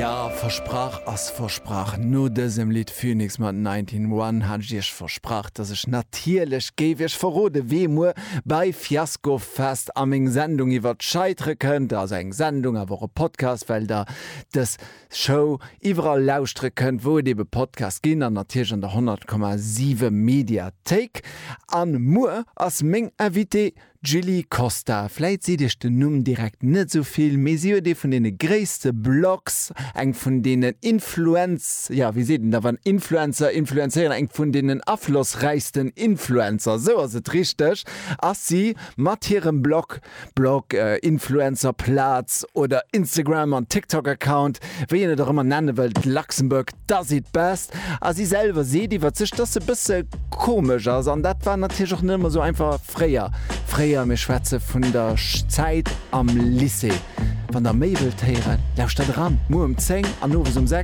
Ja, versprach ass versprach. No dësem Lidd Phoenix mat 19 One hat ech iech versprach, dass ech natierlech géif iech verrode wee muer bei Fiasko Fest a meng Sendung iwwer d'Scheitere kënnt. Also eng Sendung, awer och e Podcast, well der dës Show iwwerall lauschtere kënnt, wou et ebe Podcasts ginn an natierlech an der 100,7 Mediathéik. An muer ass meng Invitée d'Julie Costa. Vläit seet iech den Numm direkt net esou vill, mee si huet ee vun deene gréisste Blogs, eng vun deenen Influenz, jo wéi seet een da wann Influencer influenzéieren, eng vun deenen aflossräichsten Influencer, esou ass et richteg, ass si mat hirem Blog Blog, Influencer Plaz oder Instagram an TikTok Account, wéi een et och ëmmer nenne wëllt, Luxembourg does it best. A si selwer seet iwwert sech, dass se bësse komesch ass an dat war natierlech och net ëmmer esou einfach fréier. Fréier, mir schwätze vun der Zäit am Lycée. Wann der méi wëllt héieren, lauschtert eran, muer um 10 an owes um 6.